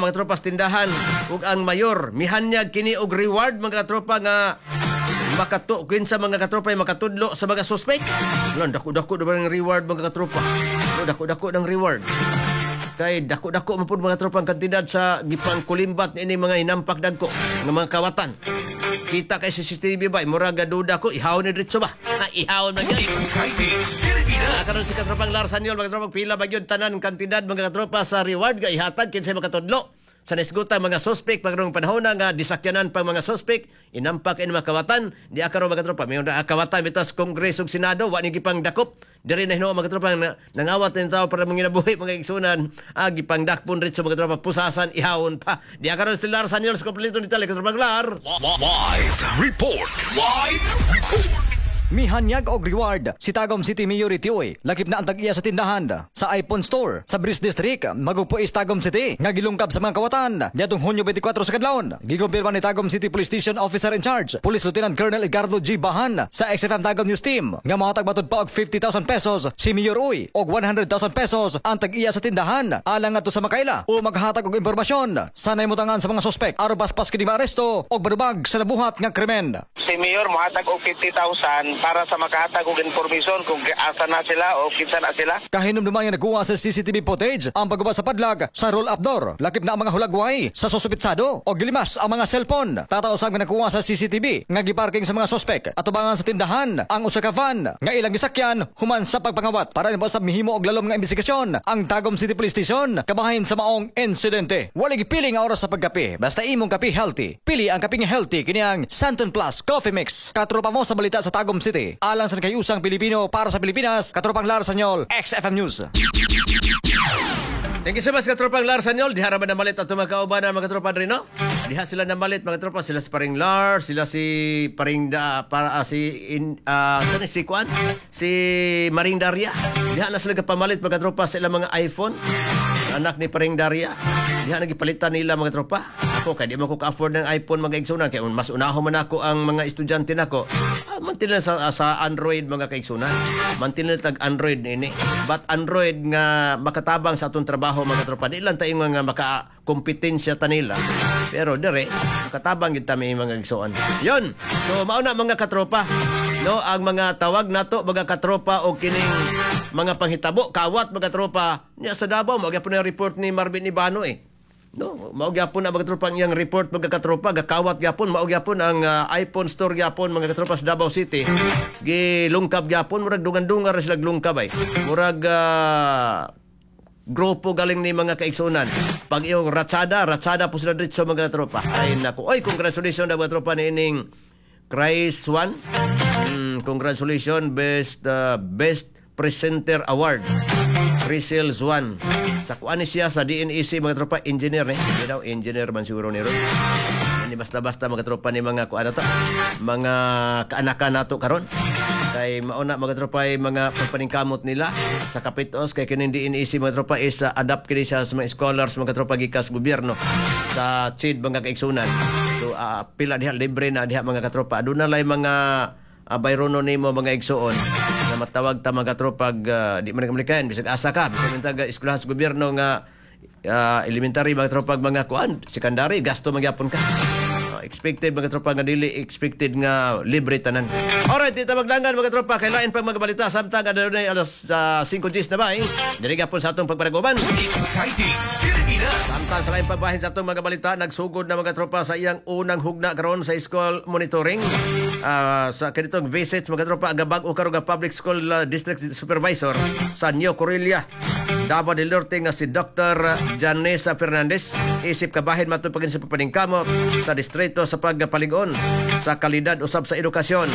mga tropa sa tindahan ug ang mayor mihanyag kini og reward, mga katropa, nga makatu kinsa, mga katropa, ay makatudlo sa mga suspect. Wala, dako-dako na ba ng reward, mga katropa? No, dako-dako ng reward. Kay dako-dako man pud, mga tropa, ang kantidad sa gipangkulimbat ni mga hinampak dagko nga mga kawatan. Kita kay CCTV ba, murag duda ko ihawon ni diretso ba? Ah, ihawon man gyud. Exciting Pilipinas. Ah, karon si katropang Lars Sanyol, mga katropang, pila ba gyud tanan kantidad, mga katropa, sa reward nga ihatag kinsay makatudlo sa nisgutan mga suspect pagrong panahon na nga disakyanan pa mga suspect, inampak ini mga kawatan di karon, mga katropa. May na kawatan bitas Kongreso ug Senado, wa ni gipang dakop diri na hinuon, mga katropa, na, nangawat ni tao para manginabuhi, mga igsunan, ah, gipangdakpon diretso, mga katropa, pusasan, ihawon pa di karon. Si Lars Sanyol sa kompleto detalye, katropang Lar. Live Report. Live Report. Mihanyag og reward si Tagum City Mayor Tioy, lakip na ang tag-iya sa tindahan sa iPhone Store sa Bridge District, Magupo East, Tagum City nga gilungkab sa mga kawatan niadtong Hunyo 24 sa kadlawon. Gikumpirma ni Tagum City Police Station Officer in Charge, Police Lieutenant Colonel Edgardo G. Bahan, sa XFM Tagum News Team nga mohatag matud pa og 50,000 pesos si Mayor Uy og 100,000 pesos ang tag-iya sa tindahan alang ngadto sa makaila o maghatag og impormasyon sa nahimutangan sa mga suspek aron paspas kini maaresto og madubag sa nabuhat nga krimen. Si Mayor mohatag og 50,000 para sa makahatag og information kung asa na sila o kinsa na sila. Kahinumduman nga nakuha sa CCTV footage ang pagguba sa padlag sa roll-up door. Lakip na ang mga hulagway sa suspitsado o gilimas ang mga cellphone. Tataw usab nga nakuha sa CCTV nga giparking sa mga sospek atubangan sa tindahan ang usa ka van nga ilang gisakyan human sa pagpangawat. Para ni sa mihimo og lalom nga investigasyon ang Tagum City Police Station kabahin sa maong insidente. Wala gipili nga oras sa pagkape, basta imong kape healthy. Pili ang kape nga healthy, kini ang Santon Plus Coffee Mix. Katropa mo sa balita sa Tagum City. Alang sa nakayusang Pilipino para sa Pilipinas, katropang Lar Sanyol, XFM News. Thank you so much, katropang Lars Sanyol. Diha ra ba namalit at mga kauban na mga katropa diri, no? Diha sila namalit, mga tropa, sila si Paring Lars, sila si Paring da, para si in saan si Kuan? Si Maring Daria. Diha na sila kapamalit, mga tropa, sa ilang mga iPhone. Anak ni Paring Daria. Diha nagipalitan nila, mga tropa. Ako kay di man ko ka-afford ng iPhone, mga igsunan, kay mas unaho man ako ang mga estudyante nako. Ah, mantin lang sa Android, mga kaigsunan. Mantin lang tag Android nini. But Android nga makatabang sa atong trabaho, mga tropa. Di lang tayo nga maka-kompetensya ta nila. Pero dire makatabang gyud ta may mga igsuon. Yun. So mao na, mga katropa. No, ang mga tawag nato, mga katropa, o kining mga panghitabo kawat, mga tropa, niya sa Davao, mao gyapon ang report ni Marvin Ibano eh. No, mao gyapon ang, mga tropa, ang iyang report, mga katropa, gakawat gyapon, mao gyapon ang iPhone store gyapon, mga katropa, sa Davao City. Gilungkab gyapon, murag dungan-dungan ra sila lungkab ay. Murag grupo galing ni mga kaigsunan. Pag iyong ratsada, ratsada po sila dito, mga tropa. Ay nako. Oy, congratulations na, mga tropa, ni ining Christ One. Congratulations, best presenter award. Crisel Zuan. Sa kuan ni siya sa DNEC, mga tropa, engineer eh. Hindi daw engineer man siguro ni ron. Hindi basta-basta, mga tropa, ni mga kuan na to. Mga kaanakan nato karon. Kay mauna, mga tropa, ay mga pagpaningkamot nila sa kapitos kay kining DNEC, mga tropa, is adapt kini siya sa mga scholars, mga tropa, gikas gobyerno sa CHED, mga kaigsunan. So pila diha libre na diha, mga katropa. Aduna lay mga bayrono nimo, mga igsuon, na matawag ta, mga katropa, di man kamalikan bisag asa ka, bisag mintag eskwelahan sa gobyerno nga elementary, mga tropa, mga kuan, secondary, gasto magyapon ka. Expected, mga tropa, nga dili expected nga libre tanan. Alright, dito maglangan, mga tropa, kay lain pang mga balita samtang adunay alas 5:10 na ba eh. Diri gapon sa atong pagpanaguban. Exciting Pilipinas. Samtang sa laing pagbahin sa atong mga balita, nagsugod na, mga tropa, sa iyang unang hugna karon sa school monitoring. Sa kanitong visits, mga tropa, ang bag-o karon nga public school district supervisor sa New Corella, Davao del Norte nga si Dr. Janessa Fernandez, isip kabahin matod pagin sa papaningkamot sa distrito sa pagpalig-on sa kalidad usab sa edukasyon.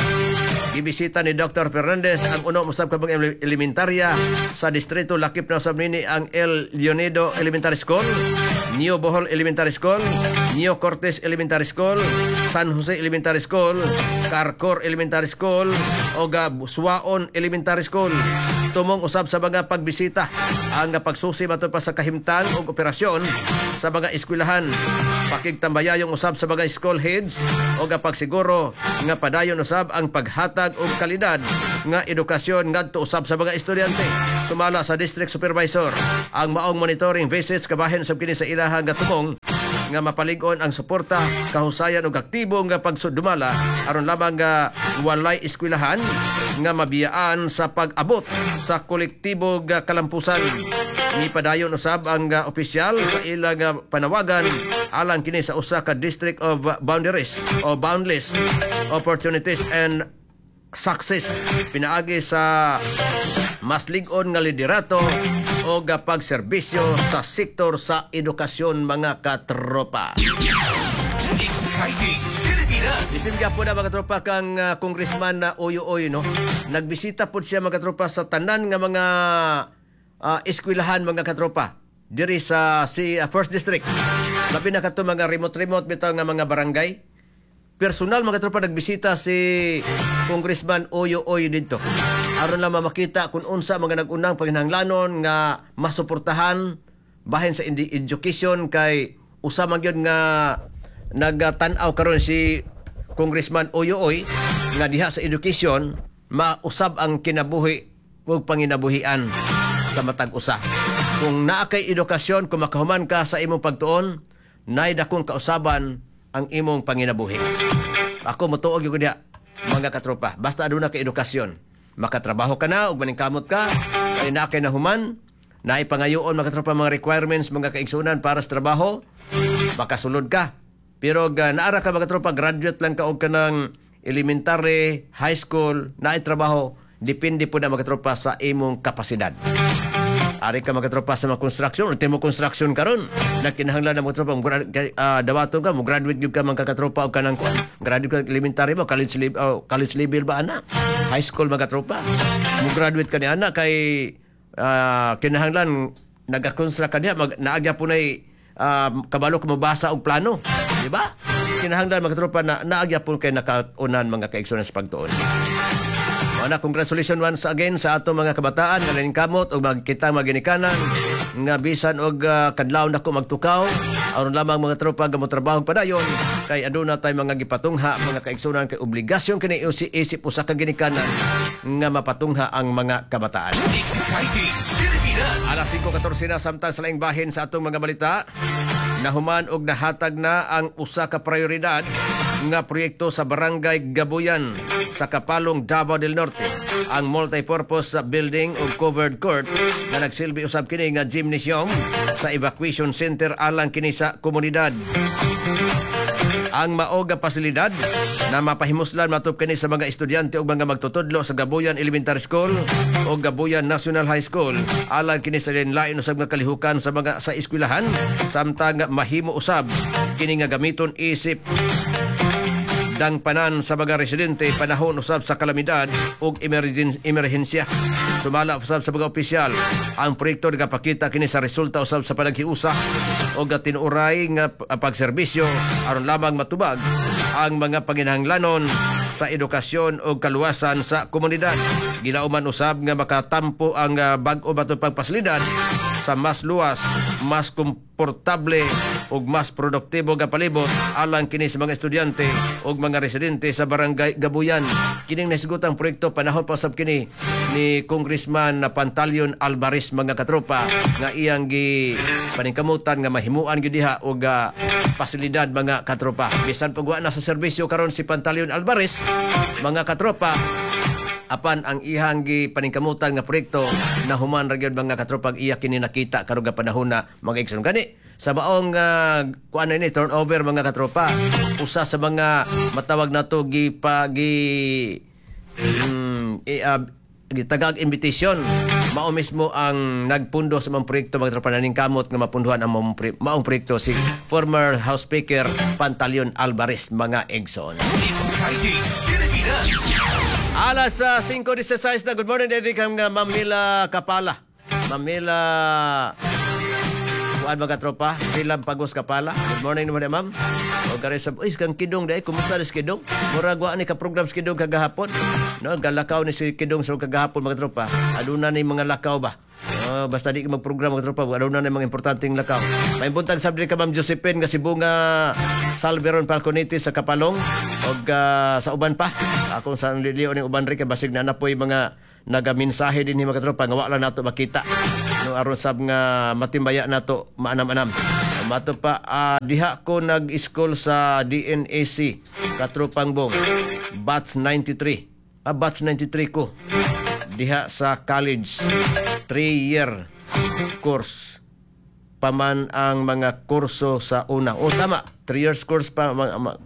Gibisita ni Dr. Fernandez ang uno usab ka mga elementarya sa distrito, lakip na usab nini ang El Leonido Elementary School, New Bohol Elementary School, Neo Cortez Elementary School, San Jose Elementary School, Carcor Elementary School o Suaon Elementary School. Tumong usab sa mga pagbisita ang pagsusi matod pa sa kahimtang ug operasyon sa mga eskwelahan. Pakigtambayayong usab sa mga school heads o pagsiguro nga padayon usab ang paghatag og kalidad nga edukasyon ngadto usab sa mga estudyante. Sumala sa district supervisor, ang maong monitoring visits kabahin sab kini sa ilahang nga tumong nga mapalig-on ang suporta, kahusayan ug aktibo nga pagsudumala aron lamang nga walay eskwelahan nga mabiyaan sa pag-abot sa kolektibo nga kalampusan. Nipadayon usab ang opisyal sa ilang panawagan alang kini sa usa ka district of boundaries o boundless opportunities and success pinaagi sa mas lig-on nga liderato o pagserbisyo sa sektor sa edukasyon, mga katropa. Exciting Pilipinas. Bisin po na, mga katropa, kang congressman na Oyo Oyo, no. Nagbisita po siya, mga katropa, sa tanan nga mga eskwelahan, mga katropa, diri sa si First District. Labi na kato mga remote-remote bitaw nga mga barangay. Personal, mga katropa, nagbisita si Congressman Oyo Oyo didto. Aron lang makita kung unsa mga nag-unang panginahanglanon nga masuportahan bahin sa education kay usa man gyud nga nagtan-aw karon si Congressman Oyo Oy nga diha sa education mausab ang kinabuhi ug panginabuhian sa matag usa. Kung naa kay edukasyon, kung makahuman ka sa imong pagtuon, naay dakong kausaban ang imong panginabuhi. Ako motuo gyud ko diha, mga katropa. Basta aduna kay edukasyon, makatrabaho ka na ug maningkamot ka, kay naa kay nahuman, naay pangayoon, mga katropa, mga requirements, mga kaigsunan, para sa trabaho, makasulod ka. Pero ga, naara ka, mga katropa, graduate lang ka og kanang elementary, high school, naay trabaho, depende po na, mga katropa, sa imong kapasidad. Ari ka, mga katropa, sa mga construction, ultimo construction karon. Nagkinahanglan na, mga katropa, dawaton ka, mo graduate gyud ka, mga katropa, og kanang kuan. Graduate ka elementary ba, college level, oh, college level ba ana? High school, mga katropa. Mo graduate ka ni ana kay kinahanglan nagakonstruct ka diha, naagya po nay kabalo ka mabasa og plano, di ba? Kinahanglan, mga katropa, na naagya po kay nakaunan, mga kaigsunan, sa pagtuon. Ana, congratulations once again sa ato mga kabataan nga naningkamot og magkita maginikanan nga bisan og kadlaw nako magtukaw aron lamang, mga tropa, nga motrabaho padayon kay aduna tay mga gipatungha, mga kaigsunan, kay obligasyon kini isip usa ka ginikanan nga mapatungha ang mga kabataan. Exciting Pilipinas. Alas 5:14 na. Samtang sa laing bahin sa atong mga balita, nahuman og nahatag na ang usa ka prioridad nga proyekto sa Barangay Gabuyan sa Kapalong, Davao del Norte. Ang multipurpose building ug covered court na nagsilbi usab kini nga gymnasium sa evacuation center alang kini sa komunidad. Ang mao nga pasilidad na mapahimuslan matub kini sa mga estudyante ug mga magtutudlo sa Gabuyan Elementary School o Gabuyan National High School alang kini sa lain usab nga kalihukan sa mga sa eskwelahan, samtang mahimo usab kini nga gamiton isip dangpanan sa mga residente panahon usab sa kalamidad ug emerhensya. Sumala usab sa mga opisyal, ang proyekto nagapakita kini sa resulta usab sa panaghiusa og tinuoray nga pagserbisyo aron lamang matubag ang mga panginahanglanon sa edukasyon o kaluwasan sa komunidad. Gilauman usab nga makatampo ang bag-o matupang pasilidad sa mas luwas, mas komportable ug mas produktibo nga palibot alang kini sa mga estudyante ug mga residente sa Barangay Gabuyan. Kining nahisgutang proyekto panahon pa usab kini ni Congressman na Pantaleon Alvarez, mga katropa, nga iyang gi paningkamutan nga mahimuan gyud diha og pasilidad, mga katropa. Bisan pag wa na sa serbisyo karon si Pantaleon Alvarez, mga katropa, apan ang ihang gi paningkamutan nga proyekto na human ra gyud, mga katropa, iya kini nakita karon nga panahon na, mga igsoon. Gani sa maong kuan ini turnover, mga katropa, usa sa mga matawag nato gi pa gi gitagag invitation, mao mismo ang nagpundo sa mga proyekto, mga tropa, naningkamot nga mapunduhan ang maong proyekto, si former House Speaker Pantaleon Alvarez, mga igsoon. Exciting Pilipinas. Alas 5:16 na. Good morning, Derek, ang Mamila Kapala. Mamila. Kuan Kuan mga tropa, Rilam Pagos Kapala. Good morning naman ma'am. O gari sa, uy, kang Kidong dai, kumusta ni si Kidong? Murag wa ni ka program si Kidong kagahapon. No, galakaw ni si Kidong sa kagahapon, mga tropa. Aduna ni mga lakaw ba? Oh, basta di ka magprogram, mga tropa, aduna ni mga importanteng lakaw. May buntag sab diri ka Ma'am Josephine nga si Bunga Salveron Falconetti sa Kapalong og sa uban pa. Akong sa liliyo ning uban ri kay basig na napoy mga nagaminsahe din ni mga tropa nga wala nato makita. No, aron sab nga matimbaya nato maanam-anam. Mato pa, diha ko nag-school sa DNAC, Katropang Bong. Batch 93. Ah, batch 93 ko. Diha sa college. 3-year course pa man ang mga kurso sa una. O tama, 3 years course pa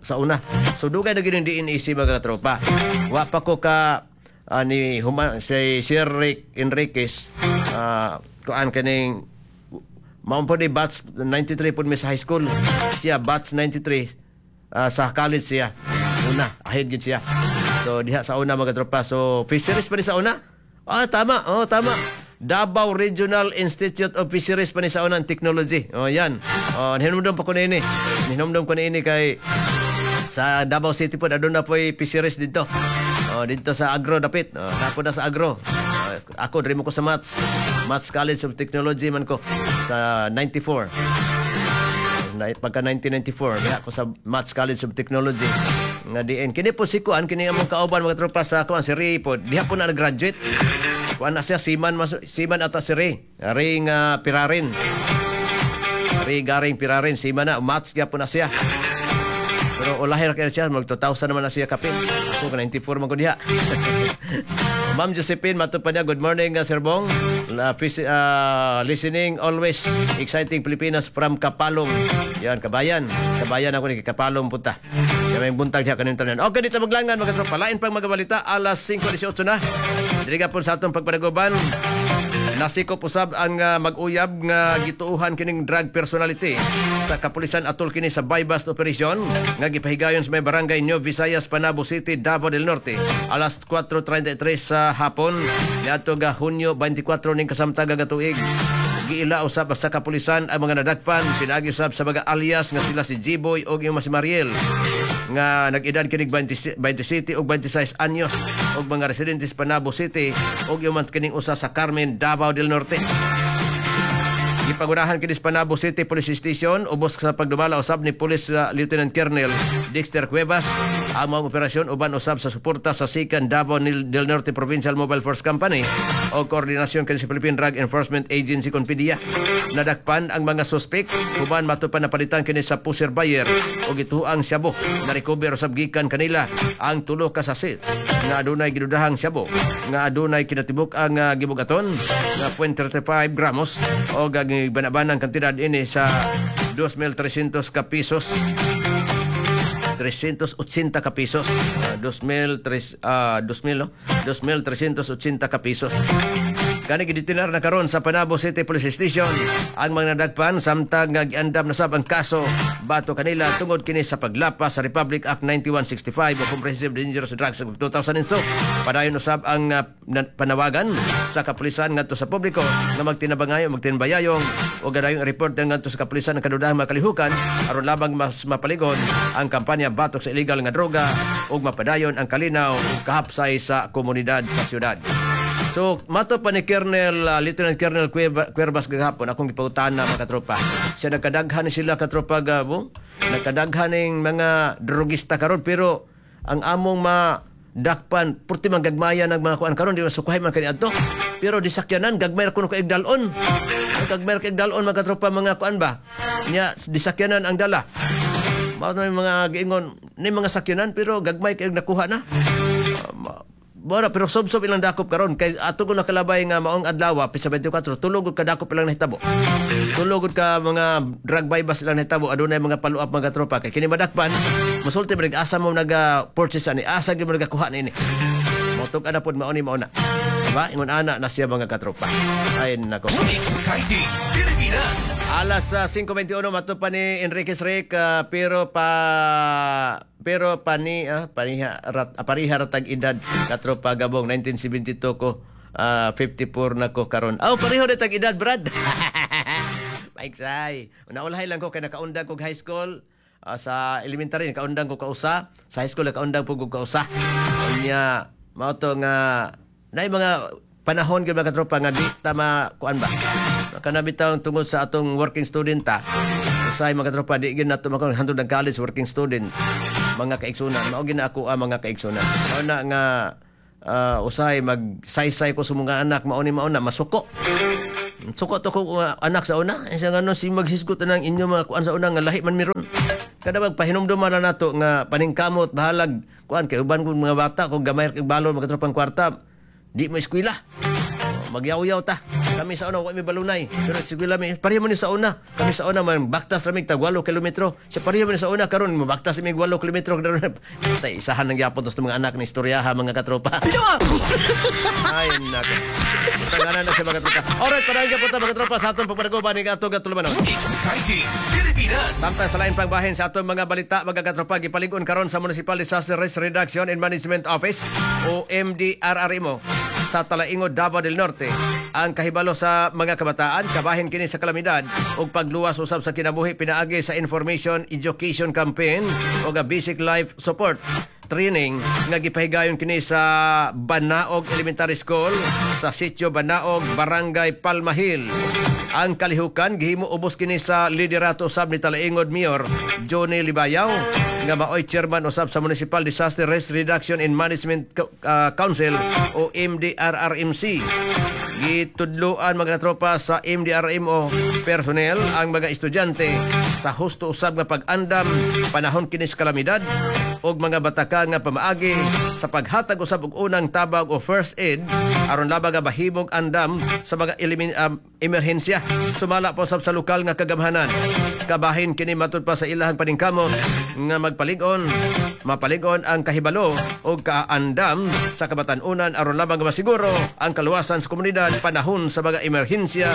sa una. So dugay na gyud yung DNAC, mga tropa. Wa pa ko ka ni huma, si Sir Rick Enriquez, kuan kaning mao po ni batch 93 po mi sa high school. Siya batch 93 sa college siya. Una, ahead gid siya. So diha sa una, mga tropa. So fisheries pa ni sa una? Ah, tama. Oh, tama. Davao Regional Institute of Fisheries pa ni sa una and Technology. Oh, yan. Oh, hinumdum pa ko niini. Hinumdum ko niini kay sa Davao City po aduna po'y fisheries dito. Oh, dito sa Agro dapit. Oh, napo na sa Agro. Oh, ako diri mo ko sa Maths. Maths College of Technology man ko sa 94. Na, pagka 1994 diha ko sa Maths College of Technology nga diin kini po si kuan kini among kauban, mga tropa, sa kuan, si Ray po diha po na nag-graduate. Kuan na siya, seaman mas, seaman ata si Ray. Ray nga Pirarin, Ray Garing Pirarin, seaman na, maths gyapon na siya. Pero ulahir kaya siya, mag 2000 naman na siya kapin. Ako, 94 man ko diha. Ma'am Josephine, mato pa niya, good morning, Sir Bong. Listening always, Exciting Pilipinas from Kapalong. Yan, kabayan. Kabayan ako ni Kapalong punta. Yan, may buntag siya kanin tanan. Okay, dito maglangan, mga tropa. Lain pang mga balita, alas 5:18 na. Dili po sa atong pagpanaguban. Nasikop usab ang mag-uyab nga gituuhan kining drug personality sa kapulisan atol kini sa buy-bust operation nga gipahigayon sa may barangay New Visayas, Panabo City, Davao del Norte alas 4:33 sa hapon niadto ga Hunyo 24 ning kasamtaga nga tuig. Giila usab sa kapulisan ang mga nadakpan pinaagi usab sa mga alias nga sila si G-Boy og yung si Mariel nga nag-edad kinig 20 27 ug 26 anyos ug mga residentes Panabo City ug yung man kining usa sa Carmen, Davao del Norte. Gipangunahan kini sa Panabo City Police Station ubos sa pagdumala usab ni Police Lieutenant Colonel Dexter Cuevas ang mga operasyon uban usab sa suporta sa Sikan Davao del Norte Provincial Mobile Force Company o koordinasyon kini sa Philippine Drug Enforcement Agency kon PDEA. Nadakpan ang mga suspek human matupan napalitan kini sa pusher buyer o gituang syabo. Na-recover usab gikan kanila ang tulo ka sachet nga adunay gidudahang syabo nga adunay kinatibuk ang gibugaton nga 0.35 gramos o gibanabanang kantidad ini sa 2,300 ka pesos, 380 ka pesos. 2,003, 2,000, no? 2,380 ka pesos. Kani gidetinar na karon sa Panabo City Police Station ang mga nadagpan samtang nga giandam na sab ang kaso batok kanila tungod kini sa paglapas sa Republic Act 9165 o Comprehensive Dangerous Drugs of 2002. Padayon usab ang panawagan sa kapulisan ngadto sa publiko nga magtinabangayo, magtinbayayong o gadayong report ngadto sa kapulisan ang kadudahang makalihukan aron lamang mas mapaligon ang kampanya batok sa illegal nga droga ug mapadayon ang kalinaw ug kahapsay sa komunidad sa syudad. So, mato pa ni Colonel, Lieutenant Colonel Cuevas gahapon, akong gipangutana, mga katropa. Siya nagkadaghan ni sila, katropa Gabo, nagkadaghan ning mga drogista karon pero ang among madakpan, purti man gagmaya ng mga kuan karon, di masukuhay man kani adto. Pero di sakyanan, gagmay ra kuno ka igdalon. Ang gagmay ra ka igdalon, mga katropa, mga kuan ba? Nya, di sakyanan ang dala. Mao na yung mga giingon ni mga sakyanan pero gagmay kay nakuha na. Bora, pero sob-sob ilang dakop karon kay ato ko nakalabay nga maong adlaw pisa 24 tulo gud ka dakop ilang nahitabo. Tulo gud ka mga drug buy bust ilang nahitabo, adunay mga follow up, mga tropa, kay kini madakpan musulti man asa mo naga purchase ani, asa gyud mo nagakuha niini. Motug ana pod mao ni mao na. Diba? Ingon ana na siya, mga katropa. Ay nako. Exciting Pilipinas. Alas 5:21, mato pa ni Enriquez Rick, pero pani paniha rat, pariha ratag edad, katropa Gabong, 1972 ko, 54 na ko karon. Oh, pareho na tag edad, brad. Maiksay. Naulahi lang ko kay nakaundang kog high school. Sa elementary nakaundang ko kausa, sa high school nakaundang po ko kausa. Unya mao to nga naay mga panahon gyud, mga katropa, nga di ta kuan ba. Kana bitaw tungod sa atong working student ta. Usahay, mga katropa, di gyud nato makon hantod ng college, working student, mga kaigsunan. Mao gyud na ako ang mga kaigsunan. Mao na nga usahay magsaysay ko sa mga anak, mao ni mao na masuko. Suko to ko anak sa una. Isa nga no si maghisgot na ng inyo mga kuan sa una nga lahi man miron. Kada magpahinumduman na nato nga paningkamot, bahalag kuan kay uban kong mga bata, kung gamay kay balon, mga tropang kwarta, di mo eskwela. Oh, magyaw-yaw ta. Kami sa una wa mi balunay. Pero eskwela mi pareho man ni sa una. Kami sa una man baktas ra mig tag 8 kilometro. Sa pareho man ni sa una karon mabaktas mig 8 kilometro. Basta isahan ng gyapon tos mga anak ni istoryaha, mga katropa. Ay, nako. Taganan na siya, mga tropa. Alright, padayon gyapon ta, mga tropa, sa atong pagpanaguban ni atong katulumanon. Exciting Pilipinas. Samtang sa lain pang bahin sa atong mga balita, mga katropa, gipalig-on karon sa Municipal Disaster Risk Reduction and Management Office o MDRRMO sa Talaingod, Davao del Norte ang kahibalo sa mga kabataan kabahin kini sa kalamidad ug pagluwas usab sa kinabuhi pinaagi sa information education campaign o a basic life support training nga gipahigayon kini sa Banaog Elementary School sa Sitio Banaog, Barangay Palma Hill. Ang kalihukan gihimo ubos kini sa liderato usab ni Talaingod Mayor Johnny Libayaw nga maoy chairman usab sa Municipal Disaster Risk Reduction and Management Council o MDRRMC. Gitudloan, mga tropa, sa MDRMO personnel ang mga estudyante sa husto usab nga pag-andam panahon kini sa kalamidad og mga bataka nga pamaagi sa paghatag usab og unang tabag o first aid aron labag nga bahimong andam sa mga emerhensya sumala po usab sa lokal nga kagamhanan. Kabahin kini matud pa sa ilahang paningkamot nga magpalig-on mapalig-on ang kahibalo og kaandam sa kabatan-unan aron lamang nga masiguro ang kaluwasan sa komunidad panahon sa mga emerhensya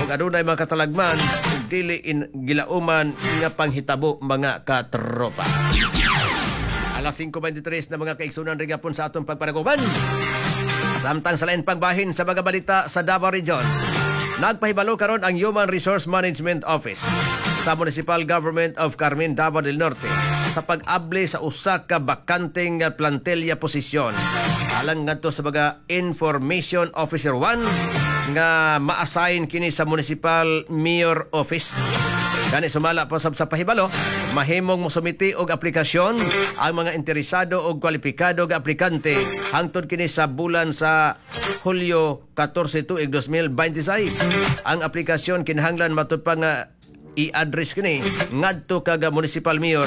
ug adunay mga katalagman ug dili in gilauman nga panghitabo, mga katropa. Alas 5:23 na, mga kaigsunan, rigapon sa atong pagpanaguban. Samtang sa lain pang bahin sa mga balita sa Davao Region, nagpahibalo karon ang Human Resource Management Office sa Municipal Government of Carmen, Davao del Norte sa pag-abli sa usa ka bakanteng plantilla posisyon alang ngadto sa mga Information Officer 1 nga ma-assign kini sa Municipal Mayor Office. Gani sumala pa sab sa pahibalo, mahimong mosumiti og aplikasyon ang mga interesado og kwalipikado nga aplikante hangtod kini sa bulan sa Hulyo 14 tuig 2026. Ang aplikasyon kinahanglan matud pa nga i-address kini ngadto kaga Municipal Mayor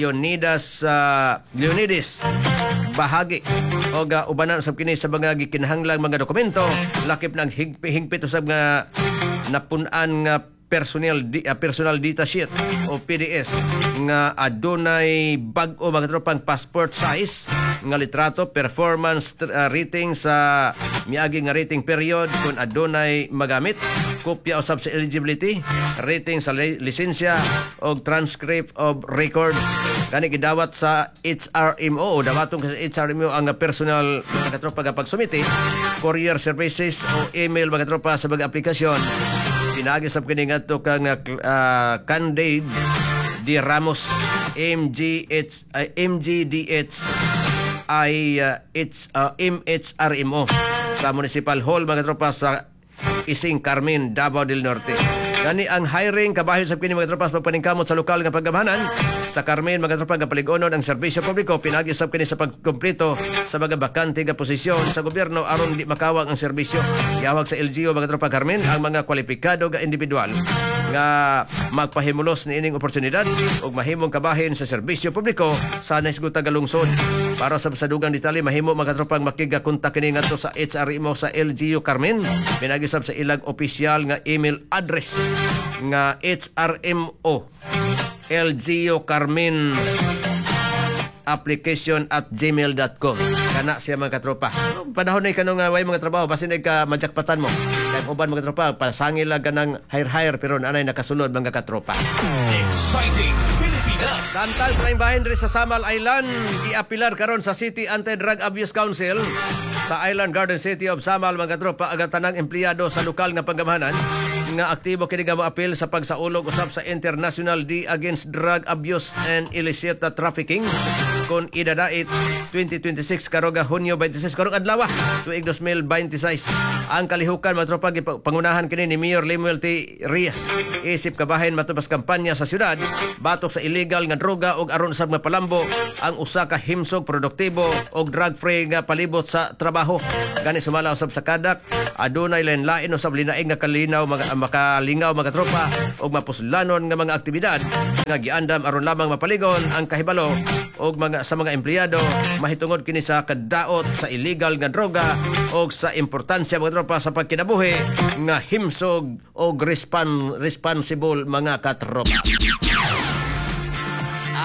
Leonidas Bahagi o ga ubanan usab kini sa mga gikinahanglang mga dokumento, lakip ng hingpit usab nga napun-an nga personal data sheet o PDS nga adunay bag-o, mga tropang, passport size nga litrato, performance rating sa miagi nga rating period kung adunay magamit, kopya usab sa eligibility rating sa lisensya og transcript of records. Kani gidawat sa HRMO o dawaton sa HRMO ang personal, mga katropa, nga pagsumiti, courier services o email, mga katropa, sa mga aplikasyon. Pinaagi sab kini ngadto kang Candide D. Ramos MGH MGDH I H MHRMO sa Municipal Hall, mga tropa, sa Ising Carmen, Davao del Norte. Gani ang hiring kabahin sa kini, mga tropa, sa pagpaningkamot sa lokal nga paggamhanan sa Carmen, mga tropa, nga palig-onon ang serbisyo publiko pinaagi sab kini sa pagkumpleto sa mga bakante nga posisyon sa gobyerno aron di makawang ang serbisyo. Giawhag sa LGU, mga tropa, Carmen ang mga kwalipikado nga individual nga magpahimulos niining oportunidad ug mahimong kabahin sa serbisyo publiko sa nahisgutang lungsod. Para sa dugang detalye, mahimo, mga tropang, makigakontak kini ngadto sa HRMO sa LGU Carmen pinaagi sab sa ilang opisyal nga email address nga HRMO LGU Carmen application@gmail.com. Kana siya, mga katropa. Panahon na kano nga way mga trabaho, basin ay ka majakpatan mo. Kay uban, mga tropa, pasangil lang ganang hire-hire pero anay nakasulod, mga katropa. Exciting Pilipinas. Samtang sa laing bahin diri sa Samal Island, giapilar karon sa City Anti-Drug Abuse Council sa Island Garden City of Samal, mga tropa, ang tanang empleyado sa lokal nga panggamhanan Nga aktibo kini nga moapil sa pagsaulog usab sa International Day Against Drug Abuse and Illicit Trafficking kon idadait 2026 karong Hunyo 26, karong adlaw, tuig 2026. Ang kalihukan, mga tropa, pangunahan kini ni Mayor Lemuel T. Reyes isip kabahin matubas kampanya sa syudad batok sa illegal nga droga ug aron usab mapalambo ang usa ka himsog, produktibo ug drug free nga palibot sa trabaho. Gani sumala usab sa CADAC, adunay lain-lain usab linaing nga kalinaw, mga makalingaw, mga tropa, ug mapuslanon nga mga aktibidad nga giandam aron lamang mapaligon ang kahibalo og mga sa mga empleyado mahitungod kini sa kadaot sa illegal nga droga og sa importansya, mga tropa, sa pagkinabuhi nga himsog og responsible, mga katropa.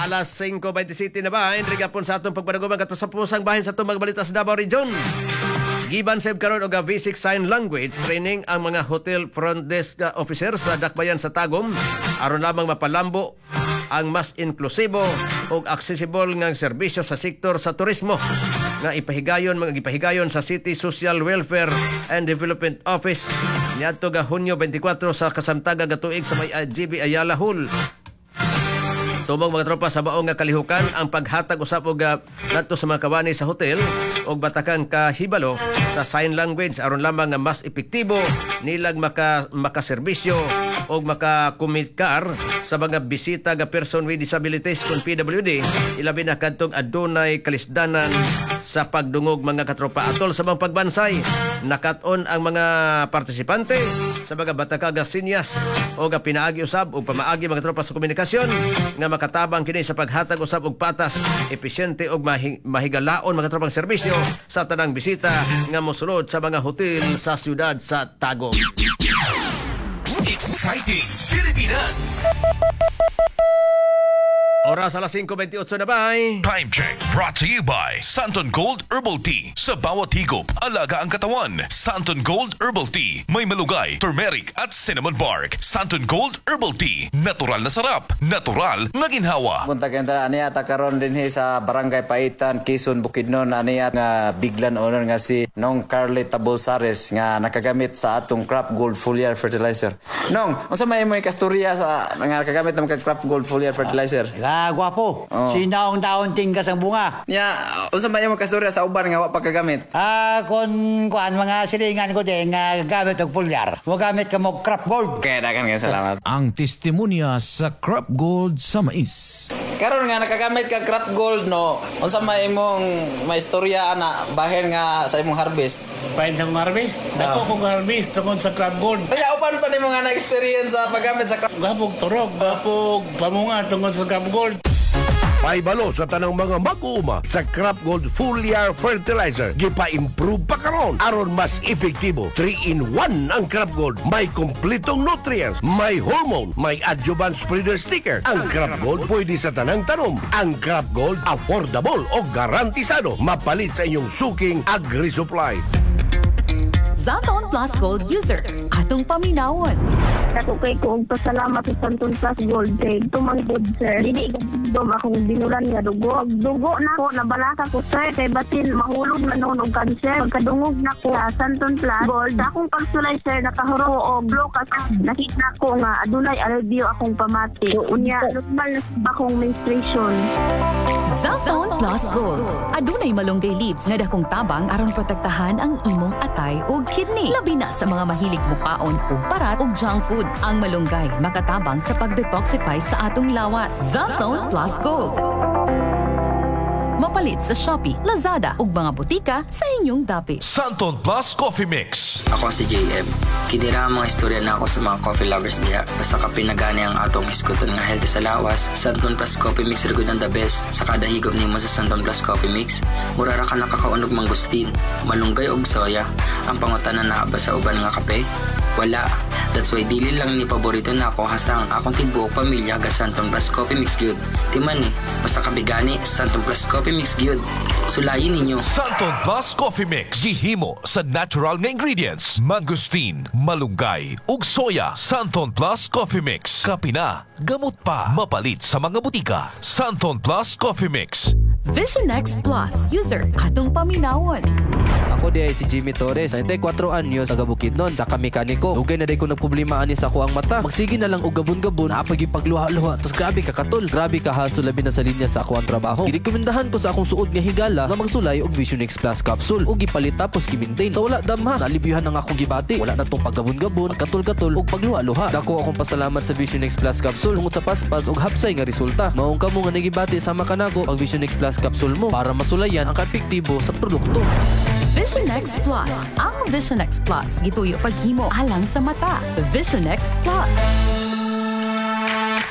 Alas 5:27 na ba? Enrique gapon sa atong pagpanaguman katapusang bahin sa atong mga balita sa Davao Region. Giban sab karon og basic sign language training ang mga hotel front desk officer sa Dakbayan sa Tagum aron lamang mapalambo ang mas inklusibo ug accessible nga serbisyo sa sektor sa turismo nga ipahigayon mga gipahigayon sa City Social Welfare and Development Office niadto ga Hunyo 24 sa kasamtaga ga tuig sa may GB Ayala Hall. Tumong, mga tropa, sa baong nga kalihukan ang paghatag usab og ngadto sa mga kawani sa hotel og batakang kahibalo sa sign language aron lamang nga mas epektibo nilang makaserbisyo og makakomikar sa mga bisita nga person with disabilities kon PWD, ilabi na kadtong adunay kalisdanan sa pagdungog, mga katropa. Atol sa mga pagbansay, nakat-on ang mga partisipante sa mga bataka nga sinyas o nga pinaagi usab o pamaagi, mga tropa, sa komunikasyon nga makatabang kini sa paghatag usab og patas, episyente og mahigalaon, mga tropang, serbisyo sa tanang bisita nga mosulod sa mga hotel sa siyudad sa Tagum. Exciting Pilipinas. Oras alas 5:28 na ba? Time check brought to you by Santon Gold Herbal Tea. Sa bawat higop, alaga ang katawan. Santon Gold Herbal Tea. May malugay, turmeric at cinnamon bark. Santon Gold Herbal Tea. Natural na sarap. Natural na ginhawa. Punta kayo tara aniya ta karon dinhi sa Barangay Paitan, Quezon, Bukidnon, aniya nga biglan owner nga si Nong Carly Tabolsares nga nakagamit sa atong Crop Gold Foliar Fertilizer. Nong, unsa may imo kasturya sa nga nakagamit ng Crop Gold Foliar Fertilizer? Ah, gwapo. Oh. Sinaong taon tingkas ang bunga. Nya, unsa may imo kasturya sa uban nga wa pa kagamit? Ah, kon kuan mga silingan ko din nga gamit og foliar. Mo gamit ka mo Crop Gold. Kaya dagan kayo salamat. Ang testimonya sa Crop Gold sa mais. Karon nga nakagamit ka Crop Gold, no, unsa may imong maistorya ana bahin nga sa imong harvest? Pain sa kong harvest. Dako kong harvest tungod sa Crop Gold. Kaya uban pa nimo nga na experience sa paggamit sa Crop Gapog turog, gapog pamunga tungod sa Crop Gold. Paibalo sa tanang mga mag-uuma sa Crop Gold Foliar Fertilizer. Gipa-improve pa karon aron mas epektibo. 3 in 1 ang Crop Gold. May kompletong nutrients, may hormone, may adjuvant spreader sticker. Ang Crop Gold pwede sa tanang tanom. Ang Crop Gold affordable o garantisado. Mapalit sa inyong suking agri-supply. Xanthone Plus Gold user. Atong paminawon. Dako kay ko og pasalamat sa Santon Plus Gold kay tumangod, sir. Dili dom akong binulan nga dugo. Dugo na ko, nabalaka ko, sir, kay basin mahulog na noon og cancer. Pagkadungog na ko sa Santon Plus Gold, sa akong pagsulay, sir, nakahuro og blokas. Nakita ko nga adunay alivio akong pamati. Unya normal na sa akong menstruation. Xanthone Plus Gold. Adunay malunggay leaves nga dakong tabang aron protektahan ang imong atay ug kidney. Labi na sa mga mahilig mukaon og parat ug junk foods. Ang malunggay makatabang sa pag-detoxify sa atong lawas. Xanthone Plus Gold. Mapalit sa Shopee, Lazada ug mga botika sa inyong dapit. Santon Plus Coffee Mix. Ako si JM. Kini ra ang mga istorya na ako sa mga coffee lovers diha. Basta kape na gani ang atong hisguton nga healthy sa lawas, Santon Plus Coffee Mix ra gud ang the best. Sa kada higop nimo sa Santon Plus Coffee Mix, mura ra ka nakakaon og mangustin, malunggay og soya. Ang pangutana naa ba sa uban nga kape? Wala. That's why dili lang ni paborito nako, hasta ang akong tibuok pamilya ga Santon Plus Coffee Mix gyud. Timan ni, basta kape gani, Santon Plus Coffee Mix gyud. Sulayin ninyo. Santon Plus Coffee Mix. Gihimo sa natural nga ingredients. Mangosteen, malunggay, ug soya. Santon Plus Coffee Mix. Kape na, gamot pa. Mapalit sa mga butika. Santon Plus Coffee Mix. Vision X Plus. User, atong paminawon. Ako di ay si Jimmy Torres, 34 anyos, taga Bukidnon, sa mekaniko. Dugay na day ko nagproblema ani sa ako ang mata. Magsige na lang og gabon-gabon, napag pagluha-luha, tas grabe ka katol. Grabe ka haso labi na sa linya sa ako ang trabaho. Girekomendahan ko sa akong suod nga higala nga magsulay og Vision X Plus capsule ug gipalit tapos gi-maintain. Sa wala damha, nalibyuhan ang akong gibati. Wala na tong paggabon-gabon, pagkatol-katol ug pagluha-luha. Dako akong pasalamat sa Vision X Plus capsule tungod sa paspas ug hapsay nga resulta. Maong kamo nga nagibati sama kanako pag Vision X Plus capsule mo para masulayan ang kaepektibo sa produkto. Vision X Plus. Ang Vision X Plus, gituyo paghimo alang sa mata. Vision X Plus.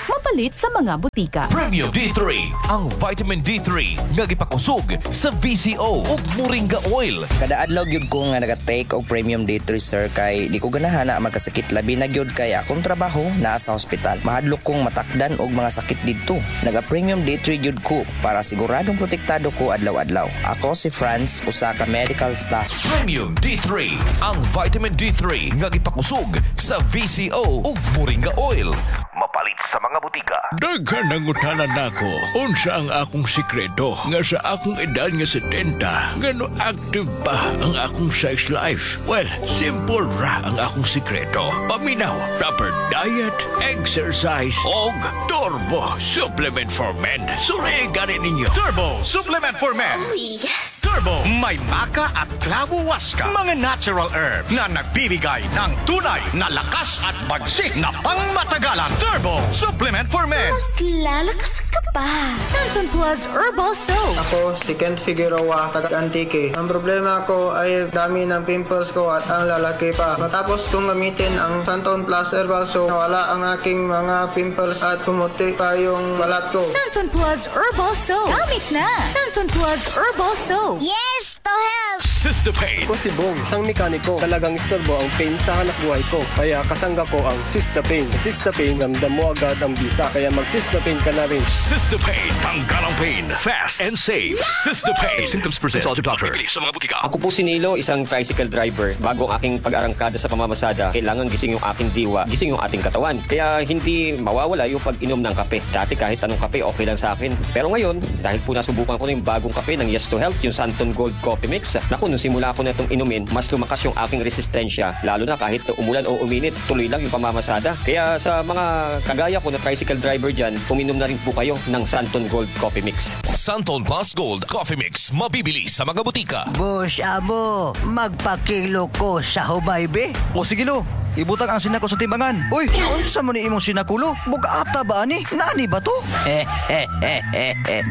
Mapalit sa mga butika. Premium D3, ang vitamin D3 nga gipakusog sa VCO ug Moringa oil. Kada adlaw gyud ko nga naga-take og Premium D3, sir, kay di ko ganahan na magkasakit, labi na gyud kay akong trabaho naa sa hospital. Mahadlok kong matakdan og mga sakit didto. Naga Premium D3 gyud ko para siguradong protektado ko adlaw-adlaw. Ako si Franz, usa ka medical staff. Premium D3, ang vitamin D3 nga gipakusog sa VCO ug Moringa oil. Mapalit sa mga butika. Daghan nangutana nako, unsa ang akong sikreto nga sa akong edad nga 70, ngano active pa ang akong sex life. Well, simple ra ang akong sikreto. Paminaw, proper diet, exercise, og Turbo Supplement for Men. Suri gani ninyo. Turbo Supplement for Men. Oh, yes. Turbo, may maca at clavo huasca. Mga natural herbs na nagbibigay ng tunay na lakas at bagsik na pangmatagalan. Turbo Supplement for Men. Mas lalakas ka pa. Santon Plus Herbal Soap. Ako, si Kent Figueroa, taga Antique. Ang problema ko ay dami ng pimples ko at ang lalaki pa. Matapos kong gamitin ang Santon Plus Herbal Soap, nawala ang aking mga pimples at pumuti pa yung balat ko. Santon Plus Herbal Soap. Gamit na. Santon Plus Herbal Soap. Yes to health! Sister Pain. Ako si Bong, isang mekaniko. Talagang istorbo ang pain sa hanap buhay ko. Kaya kasangga ko ang Sister Pain. Sister Pain, ramdam mo agad ang bisa. Kaya mag Sister Pain ka na rin. Sister Pain, tanggal ang pain. Fast and safe. Sister Pain. If symptoms persist, consult your doctor. Bili sa mga butika. Ako po si Nilo, isang tricycle driver. Bago ang aking pag-arangkada sa pamamasada, kailangan gising yung aking diwa, gising yung ating katawan. Kaya hindi mawawala yung pag-inom ng kape. Dati kahit anong kape, okay lang sa akin. Pero ngayon, dahil po nasubukan ko na yung bagong kape ng Yes to Health, yung Santon Gold Coffee Mix, naku, nung simula ko na itong inumin, mas lumakas yung aking resistensya. Lalo na kahit umulan o uminit, tuloy lang yung pamamasada. Kaya sa mga kagaya ko na tricycle driver dyan, uminom na rin po kayo ng Santon Gold Coffee Mix. Santon Plus Gold Coffee Mix, mabibili sa mga butika. Boss, amo, magpakilo ko sa humay, be. O sige lo, ibutang ang sinako sa timbangan. Uy, unsa man ni imong sinakulo? Bugata ba ani? Nani ba to?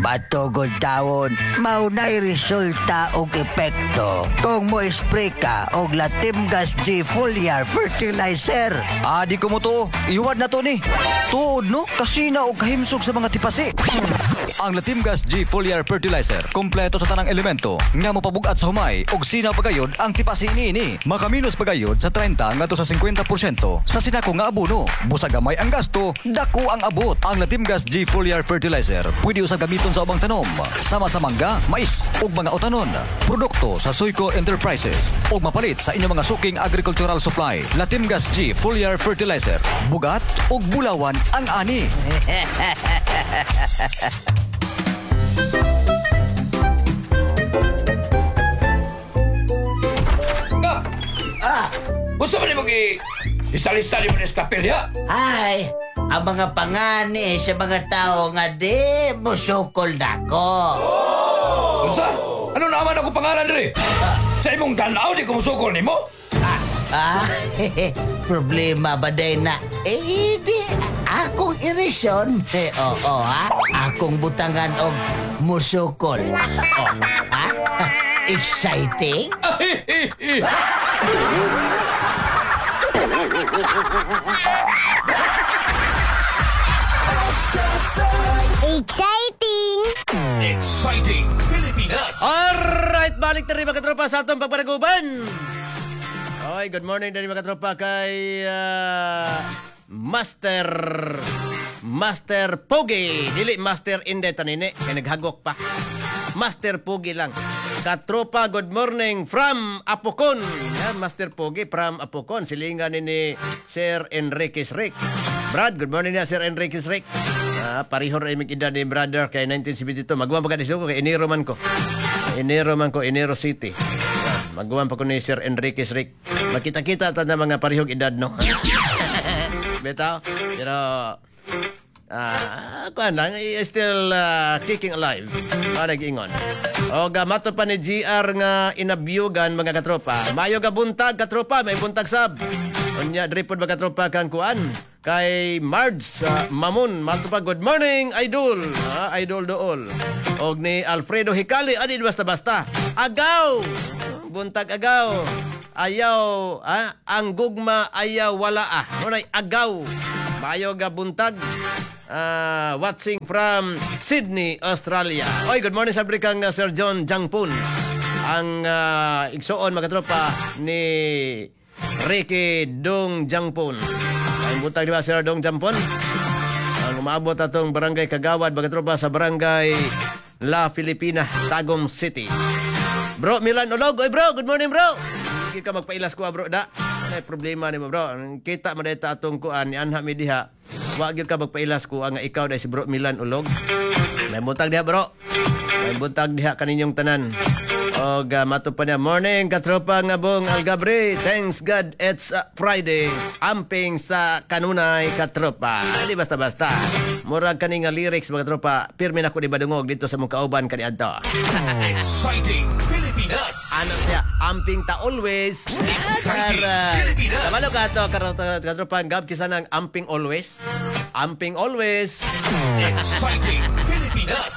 Batugod tawon, mao na'y resulta og epekto kung mo spray ka og Latimgas G Foliar Fertilizer. Ah, di ko mo to. Iwad na to ni. Tuod no, kasina og kahimsog sa mga tipasi. Ang Latimgas G Foliar Fertilizer, kompleto sa tanang elemento nga mopabugat sa humay og sinaw pagayod ang tipasi niini. Makaminos pagayod sa 30 ngadto sa 50% sa sinako nga abono. Busa gamay ang gasto, dako ang abot. Ang Latimgas G Foliar Fertilizer pwede usab gamiton sa ubang tanom, sama sa mangga, mais ug mga utanon. Produkto sa Suico Enterprises ug mapalit sa inyong mga suking agricultural supply. Latimgas G Foliar Fertilizer, bugat ug bulawan ang ani. Kap! Ah! Gusto mo ni mag isalista ni mo ni kapilya? Ay, ang mga pangani sa mga tao nga di musukol nako. Unsa? Ano naman ako pangalan diri? Sa imong tanaw di ko musukol nimo? Ah, problema ba day na? Eh, di, akong irisyon. Eh, oo, ha? Akong butangan og musukol. Oh, ha? Exciting? Exciting! Exciting Pilipinas. Alright, balik na rin mga katropa sa atong pagpanaguban. Okay, good morning din mga katropa kay Master Pogi. Dili Master Inde tanini, kay naghagok pa. Master Pogi lang. Katropa, good morning from Apokon. Yan, Master Pogi from Apokon. Silingan ni Sir Enriquez Rick. Brad, good morning na Sir Enriquez Rick. Parihor ay mig edad ni brother kay 1972. Magwan pa ka ko kay Enero man ko. Enero man ko, Enero City. Magwan pa ko ni Sir Enriquez Rick. Makita-kita ta na mga parihog edad, no? Bitaw. Pero kuan lang, still kicking alive. Nag-ingon. O mato pa ni GR nga inabyugan mga katropa. Mayo ga buntag katropa, may buntag sab. Unya diri pod mga katropa kang kuan kay Marge Mamun. Mato pa, good morning idol. Idol dool. Og ni Alfredo Hikali, adi basta-basta. Agaw. Buntag agaw. Ayaw, ang gugma ayaw wala ah. Munay agaw. Mayo ga buntag. Watching from Sydney, Australia. Oy, good morning sa kang Sir John Jangpun. Ang igsuon mga tropa ni Ricky Dong Jangpun. Ang buntag di ba Sir Dong Jangpun? Ang umaabot atong barangay Kagawad mga tropa sa barangay La Filipina, Tagum City. Bro Milan Olog. Oy bro, good morning bro. Hindi ka magpailas ko bro da. Ay problema nimo bro. Kita mo dayta atong kuan ni anha mi diha. Wa gyud ka magpailas ko nga ikaw dai si Bro Milan Ulog. May buntag diha bro. May buntag diha kaninyong tanan. Og mato pa niya, morning katropa nga bong Algabre. Thanks God it's Friday. Amping sa kanunay katropa. Di basta-basta. Murag kani nga lyrics mga tropa. Pirmi na ko di badungog dito sa mong kauban kaniadto. Exciting Pilipinas. Ano siya? Amping ta always. Exciting Pilipinas. Kabalo ka to katropa gab kisa nang amping always. Amping always. Exciting Pilipinas.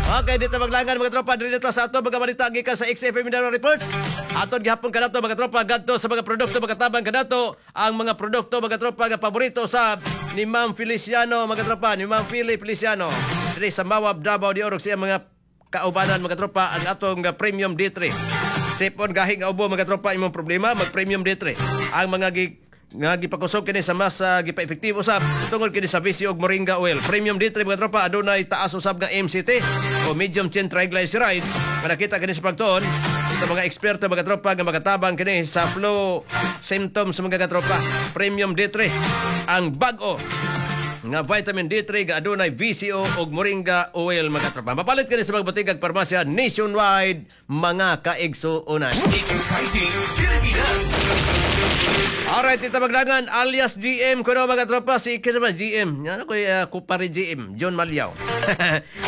Okay, dito maglangan mga tropa diri dito sa ato mga balita gikan sa XFM Mindanao Reports. Aton gihapon kanato mga tropa gadto sa mga produkto mga tabang kanato ang mga produkto mga tropa nga paborito sa ni Ma'am Feliciano mga tropa, ni Ma'am Philly Feliciano. Diri sa Mawab, Davao de Oro siya mga kaubanan mga tropa ang atong Premium D3. Sipon gahi nga ubo mga tropa imong problema mag Premium D3. Ang mga nga gipakusog kini sa mas gipa-epektibo usab tungod kini sa VC og Moringa oil. Premium D3 mga tropa adunay taas usab nga MCT o medium chain triglycerides. Nga nakita kini sa pagtuon sa mga eksperto mga tropa nga makatabang kini sa flu symptoms sa mga katropa. Premium D3 ang bag-o nga vitamin D3 nga adunay VCO og Moringa oil mga tropa. Mapalit kini sa mga butikag parmasya nationwide mga kaigsuonan. Exciting Pilipinas. Alright, ito maglangan alias GM kuno mga tropa si kinsa GM. Yan ko kupari GM John Malyaw.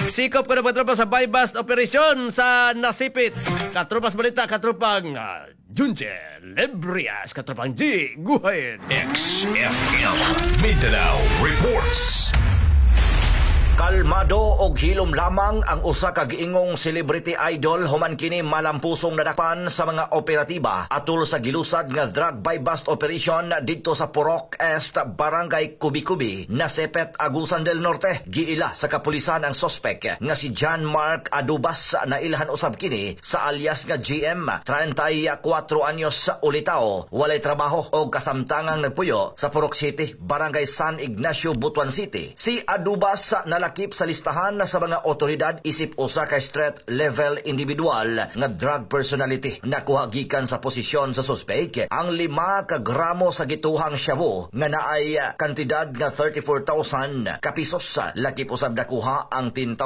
Sikop kuno mga tropa sa buy-bust operation sa Nasipit. Katropas balita katropang Junje Lebrias, katropang G Guhain. XFM Mindanao Reports. Kalmado og hilom lamang ang usa ka giingong celebrity idol human kini malampusong nadakpan sa mga operatiba atol sa gilusad nga drug buy-bust operation didto sa Purok Est, Barangay Kubi-Kubi, Nasepet, Agusan del Norte. Giila sa kapulisan ang sospek nga si John Mark Adubas na ilhan usab kini sa alias nga GM, 34 anyos ulitaw, walay trabaho og kasamtangang nagpuyo sa Purok City, Barangay San Ignacio, Butuan City. Si Adubas nalakip sa listahan sa mga otoridad isip usa ka street level individual nga drug personality. Nakuha gikan sa posisyon sa suspect ang 5 ka gramo sa gituhang shabu nga naay kantidad nga 34,000 ka pesos. Lakip usab nakuha ang 10,000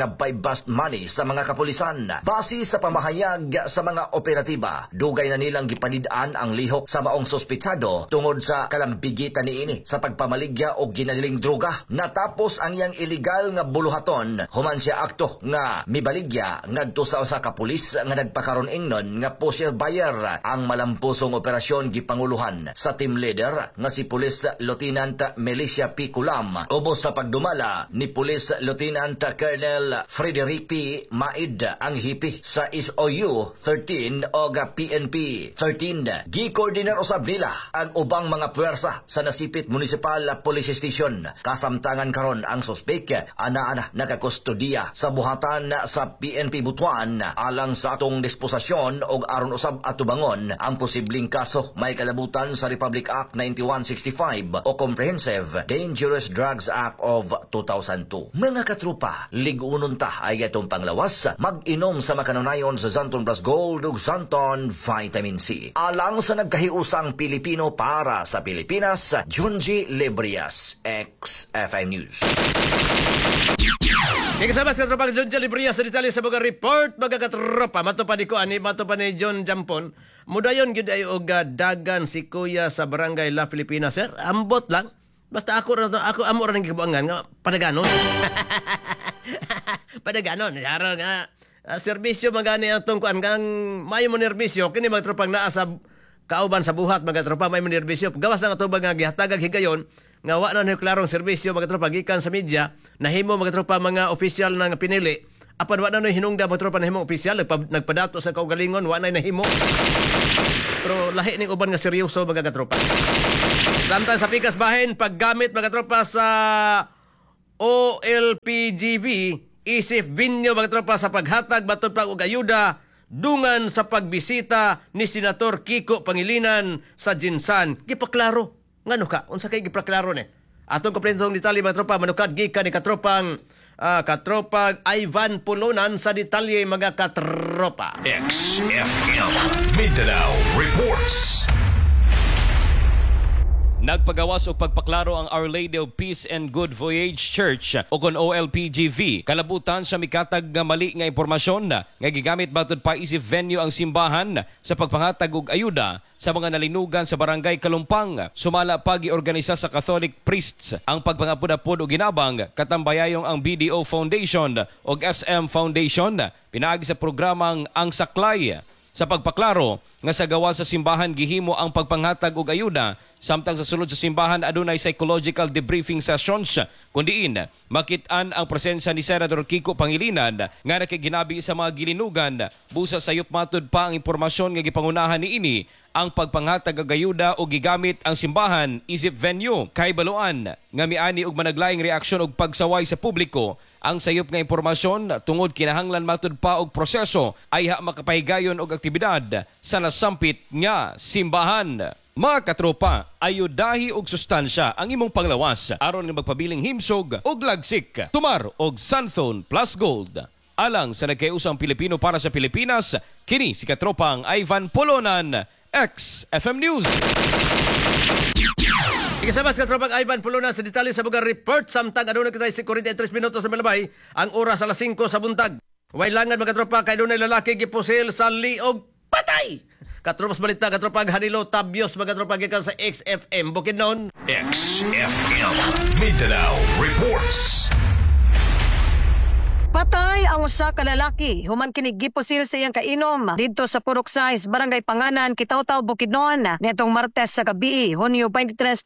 nga buy-bust money sa mga kapulisan. Base sa pamahayag sa mga operatiba, dugay na nilang gipanid-an ang lihok sa maong suspetsado tungod sa kalambigitan niini sa pagpamaligya og ginaliling droga. Natapos ang iyang illegal nga buluhaton human siya akto nga mibaligya ngadto sa usa ka pulis nga nagpakaron ingnon nga pusher buyer. Ang malampusong operasyon gipanguluhan sa team leader nga si Police Lieutenant Melissa P. Kulam ubos sa pagdumala ni Police Lieutenant Colonel Frederick P. Maid ang hipi sa SOU 13 og PNP 13. Gikoordinar usab nila ang ubang mga puwersa sa Nasipit Municipal Police Station. Kasamtangan karon ang suspek anang Anaa na nakakustodiya sa buhatan sa PNP Butuan alang sa atong disposasyon og aron usab atubangon ang posibleng kaso may kalabutan sa Republic Act 9165 o Comprehensive Dangerous Drugs Act of 2002. Mga katrupa, ligunon ta ay atong panglawas, mag-inom sa makanunayon sa Xanthone Plus Gold ug Xanthone Vitamin C. Alang sa nagkahiusang Pilipino para sa Pilipinas, Junji Librias, XFM News. Kaya kasama sa katropa John Librias sa detalye sa mga report, mga katropa. Mato pa ni ko ani, mato pa ni John Jampon. Mudayon gyud ay og dagan si Kuya sa Barangay La Filipina, sir. Ambot lang. Basta ako ra ako amo ra ning gibuangan nga padaganon. Padaganon, yara nga serbisyo magani ang tong kuan kang maayo mo nerbisyo kini mga tropang naa sa kauban sa buhat, mga tropa, may mo nerbisyo. Gawas lang atong nga gihatagag higayon nga wa na klarong serbisyo, mga tropa, gikan sa media nahimo, mga tropa, mga official na nga pinili, apan wa na no hinungda, mga tropa, nahimo official, nagpadato sa kaugalingon, wa na nahimo. Pero lahi ning uban nga seryoso, mga katropa. Samtang sa pikas bahin paggamit, mga tropa, sa OLPGV isip binyo, mga tropa, sa paghatag matod pa og ayuda dungan sa pagbisita ni Senator Kiko Pangilinan sa Jinsan. Gipaklaro. Ngano ka? Unsa kay gipaklaro ni? Atong kompletong detalye, mga tropa, manukad gikan ni katropang katropang Ivan Pulunan sa detalye, mga katropa. XFM Mindanao Reports. Nagpagawas og pagpaklaro ang Our Lady of Peace and Good Voyage Church o kon OLPGV kalabutan sa mikatag nga mali nga impormasyon nga gigamit matud pa isip venue ang simbahan sa pagpangatag og ayuda sa mga nalinugan sa Barangay Kalumpang. Sumala pa giorganisa sa Catholic priests ang pagpangapud-apod og ginabang katambayayong ang BDO Foundation og SM Foundation pinaagi sa programang Ang Saklay. Sa pagpaklaro nga sa gawa sa simbahan gihimo ang pagpanghatag og ayuda, samtang sa sulod sa simbahan adunay psychological debriefing sessions kundiin makit-an ang presensya ni Senator Kiko Pangilinan nga nakiginabi sa mga gilinugan. Busa sayop matud pa ang impormasyon nga gipangunahan niini ang pagpanghatag og ayuda o gigamit ang simbahan isip venue. Kay baluan nga miani og managlaing reaksyon og pagsaway sa publiko ang sayop nga impormasyon tungod kinahanglan matud pa og proseso ay ha makapahigayon og aktibidad sa nasampit nga simbahan. Mga katropa, ayudahi og sustansya ang imong panglawas aron nga magpabiling himsog og lagsik. Tumar og Xanthone Plus Gold. Alang sa nagkaiusang Pilipino para sa Pilipinas, kini si katropang Ivan Polonan, XFM News. Ikasama sa katropang Ivan Pulunan sa detalye sa mga report. Samtang aduna kita si 43 minutos sa malabay ang oras alas 5 sa buntag. Wailangan, mga tropa, kay dunay lalaki gipusil sa liog, patay. Katropas balita, katropang Hanilo Tabios, mga tropa, gikan sa XFM Bukidnon. XFM Mindanao Reports. Patay ang usa ka lalaki human kini gipusil sa iyang kainom didto sa Purok 6, Barangay Panganan, Kitaw-Taw, Bukidnon nitong Martes sa gabi, Hunyo 23,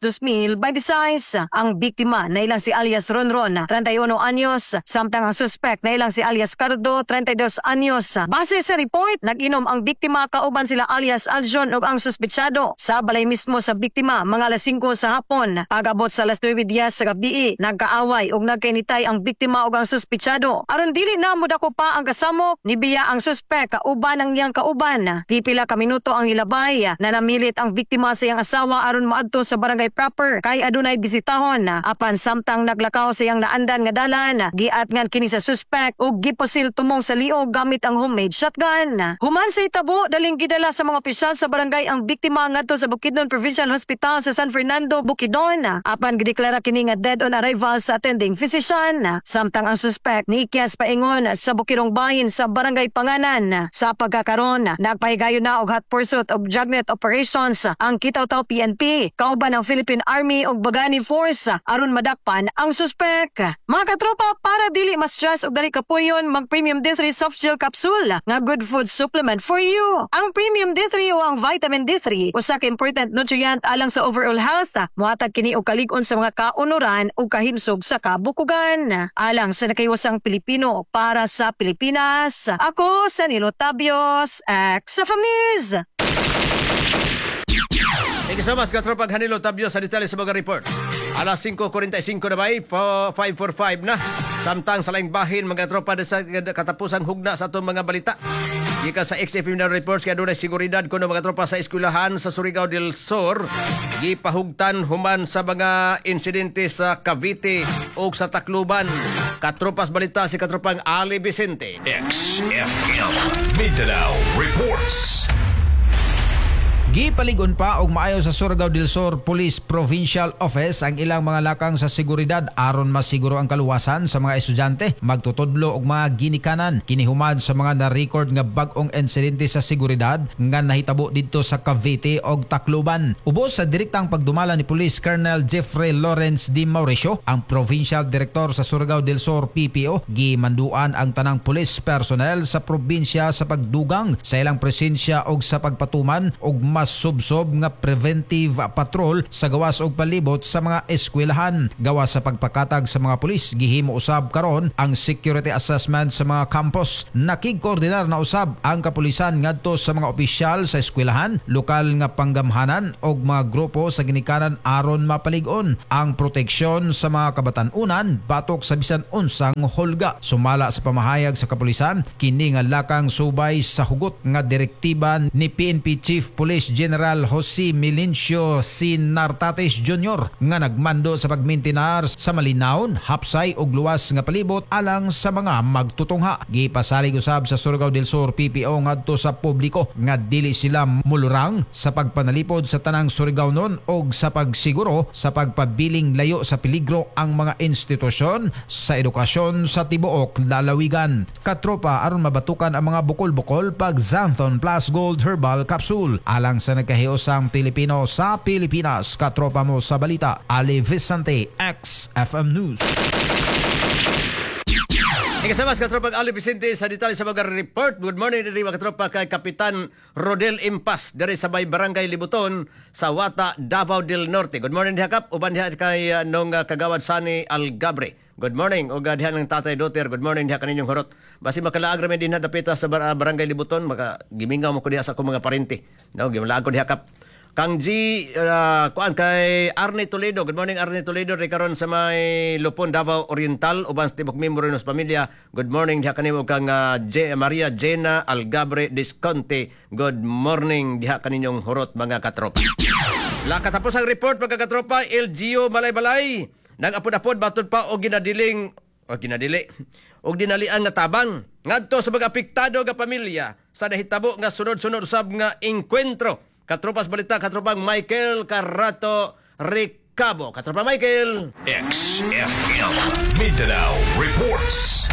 2026. Ang biktima na ilang si alias Ronron, 31 anyos, samtang ang suspect na ilang si alias Cardo, 32 anyos. Base sa report, nag-inom ang biktima kauban sila alias Aljon ug ang suspetsado sa balay mismo sa biktima mga alas 5 sa hapon. Pag-abot sa alas 9:10 sa gabi, nagkaaway ug nagkainitay ang biktima ug ang suspetsado. Aron dili na mudako pa ang kasamok, nibiya ang suspek kauban ang iyang kauban. Pipila ka minuto ang ilabay na namilit ang biktima sa iyang asawa aron moadto sa barangay proper kay adunay bisitahon. Apan samtang naglakaw sa iyang naandan nga dalan, giatngan kini sa suspek ug gipusil tumong sa liog gamit ang homemade shotgun. Human sa itabo, daling gidala sa mga opisyal sa barangay ang biktima ngadto sa Bukidnon Provincial Hospital sa San Fernando, Bukidnon. Apan gideklara kini nga dead on arrival sa attending physician. Samtang ang suspek niikyas paingon sa Bukirong Bahin sa Barangay Panganan. Sa pagkakaron, nagpahigayon na og hot pursuit og dragnet operations ang Kitaw-Taw PNP kauban ang Philippine Army ug Bagani Force aron madakpan ang suspek. Mga katropa, para dili ma-stress og dali kapuyon, mag Premium D3 Soft Gel Capsule nga good food supplement for you. Ang Premium D3 o ang vitamin D3 usa ka important nutrient alang sa overall health. Mohatag kini og kalig-on sa mga kaunuran ug kahimsog sa kabukugan. Alang sa nakahiwasang Pilipino para sa Pilipinas, ako sa Nilo Tabios, XFM News. Thank you so much, katropang Hanilo Tabio sa detalye sa mga report. Alas 5:45 na ba? 5:45 na. Samtang sa laing bahin, mga tropa sa katapusang hugna sa atong mga balita. Gikan sa XFM na reports kaya dunay seguridad kuno mga tropa sa eskwelahan sa Surigao del Sur gipahugtan human sa mga insidente sa Cavite ug sa Tacloban. Katropas balita si katropang Ali Vicente. XFM Mindanao Reports. Gipaligon pa og maayo sa Surigao del Sur Police Provincial Office ang ilang mga lakang sa seguridad aron masiguro ang kaluwasan sa mga estudyante, magtutudlo og mga ginikanan. Kini human sa mga na-record nga bag-ong insidente sa seguridad nga nahitabo didto sa Cavite og Tacloban. Ubos sa direktang pagdumala ni Police Colonel Jeffrey Lawrence D. Mauricio, ang Provincial Director sa Surigao del Sur PPO, gimanduan ang tanang police personnel sa probinsya sa pagdugang sa ilang presensya og sa pagpatuman og mas subsob nga preventive patrol sa gawas og palibot sa mga eskwelahan. Gawas sa pagpakatag sa mga pulis, gihimo usab karon ang security assessment sa mga campus. Nakigkoordinar na usab ang kapulisan ngadto sa mga opisyal sa eskwelahan, lokal nga panggamhanan og mga grupo sa ginikanan aron mapalig-on ang proteksyon sa mga kabatan-unan batok sa bisan unsang hulga. Sumala sa pamahayag sa kapulisan, kini nga lakang subay sa hugot nga direktiba ni PNP Chief Police General Jose Melencio C. Nartates Jr. nga nagmando sa pagmintinar sa malinawon, hapsay ug luwas nga palibot alang sa mga magtutungha. Gipasalig usab sa Surigao del Sur PPO ngadto sa publiko nga dili sila mulurang sa pagpanalipod sa tanang Surigaonon og sa pagsiguro sa pagpabiling layo sa peligro ang mga institusyon sa edukasyon sa tibuok lalawigan. Katropa, aron mabatukan ang mga bukol-bukol pag Xanthone Plus Gold Herbal Capsule alang sa nagkahiusang Pilipino sa Pilipinas. Katropa mo sa balita, Ali Vicente, XFM News. Ikasama sa katropang Ali Vicente sa detalye sa mga report. Good morning diri mga katropa kay Kapitan Rodel Impas diri sa may Barangay Libuton sa Wata, Davao del Norte. Good morning diha kap, uban diha kay nung kagawad Sani Algabre. Good morning ug diha ng Tatay Doter. Good morning diha kaninyong horot. Basi makalaag ra mi dinha dapita sa Barangay Libuton, maka gimingaw mo ko diha sa akong mga parente. No, gimalaag ko diha kap. Kang G, kuan kay Arne Toledo. Good morning Arne Toledo ri karon sa may Lupon, Davao Oriental uban sa tibok membro nos pamilya. Good morning diha kanimo kang Maria Jena Algabre Disconte. Good morning diha kaninyong horot mga katropa. La katapos ang report mga katropa, LGU Malaybalay nag-apod-apod batud pa og ginadiling o ginadili og dinalian nga tabang ngadto sa mga apektado nga pamilya sa nahitabo nga sunod-sunod usab nga engkwentro. Katropas balita, katropang Michael Carato Ricabo. Katropa Michael. XFM Mindanao Reports.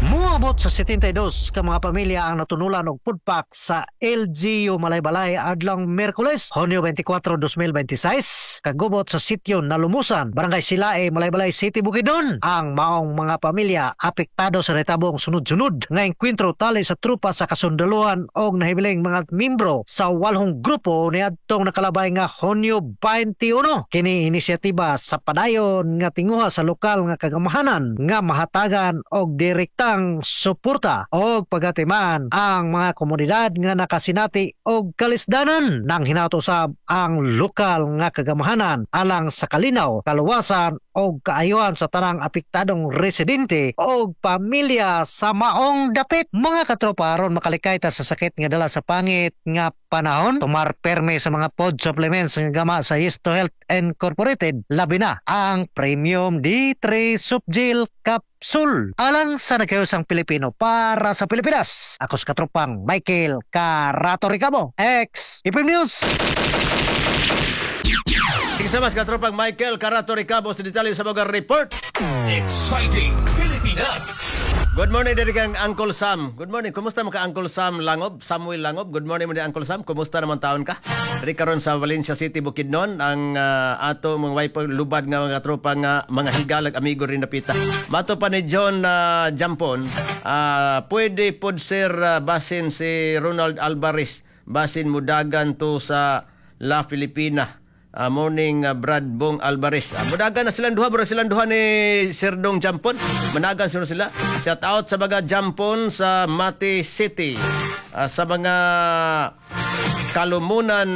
Muabot sa 72 ka mga pamilya ang natunulan og food pack sa LGU Malaybalay adlong Miyerkules, Hunyo 24, 2026, kagubot sa sityo Nalumusan, Barangay Silae, Malaybalay City, Bukidnon. Ang maong mga pamilya apektado sa retabong sunod-sunod nga engkwentro tali sa trupa sa kasundaluhan og nahibiling mga membro sa walhong grupo niadtong nakalabay nga Hunyo 21. Kini inisyatiba sa padayon nga tinguha sa lokal nga kagamahanan nga mahatagan og direkta ang suporta og pagatiman ang mga komunidad nga nakasinati og kalisdanan nang hinaut usab ang lokal nga kagamahanan alang sa kalinaw, kaluwasan og kaayuhan sa tanang apektadong residente og pamilya sa maong dapit. Mga katropa, aron makalikay ta sa sakit nga dala sa pangit nga panahon, tumar perme sa mga pod supplements nga gama sa Yesto Health Incorporated, labi na ang Premium D3 Subgel Capsule. Alang sa nagkayusang Pilipino para sa Pilipinas, ako sa katropang Michael Carato Ricabo, XFM News. Iksamas katropang Michael Carato Ricabo sa detalye sa mga report. Exciting Pilipinas. Good morning diri kang Uncle Sam. Good morning. Kumusta mo ka Uncle Sam Langob? Samuel Langob. Good morning mo di Uncle Sam. Kumusta naman taon ka? Diri karon sa Valencia City, Bukidnon, ang ato mga wife lubad nga mga tropa nga mga higalag amigo rin napita. Mato pa ni John Jampon, pwede pod sir basin si Ronald Alvarez, basin mudagan to sa La Filipina. Morning Brad Bong Alvarez. Mudagan na silang duha, bro silang duha ni Sir Dong Jampon. Managan sila sila. Shout out sa mga Jampon sa Mati City. Sa mga Kalumunan